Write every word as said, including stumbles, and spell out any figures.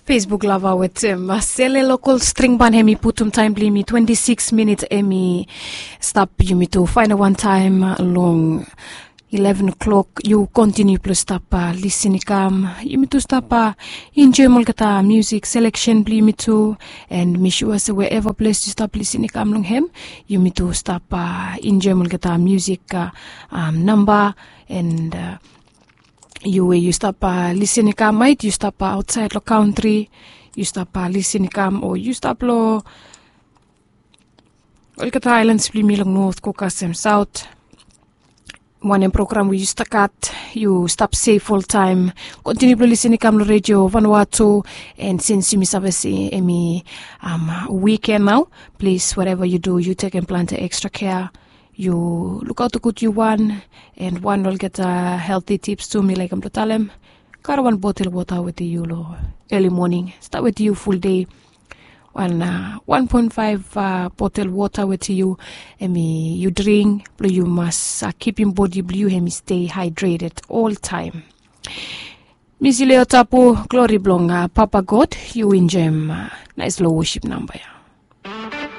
Facebook lava wetem sele lokol string ban, hem i putum taem blong yumi twenti sikis minit, hem i stap yumi tu faenem wan taem long ileven klok. Yu kontiniu blong stap lisin i kam, yumi tu stap enjoem olgeta musik seleksen blong yumi tu. And mi sua se wherever ples yu stap lisin i kam long hem, yumi tu stap enjoem olgeta musik namba. And yu we yu stap lisin i kam, maet yu stap aotsaed long kantri, yu stap lisin i kam o yu stap long olgeta aelans blong yumi long not go kasem saot. Wanem program we yu stap gat, yu stap sef oltaem. Kontiniu blong lisin i kam long redio vanua tu. And sins yumi save se hem i wiken nao, plis whatever yu du yu tekem plante ekstra kea. Yu lukaot gud yu wan. And wan olgeta helti tips tu mi laekem blong talem, karem wan botel wota wetem yu long eli moning, stap wetem yu ful dei. Wan wan poen faef botel wota wetem yu, hem i yu dring blong yu mas kipim bodi blong yu hem i stei haedreted oltaem. Misileo tapu, glori blong papa god. Yu enjoem naes long wosip namba ya.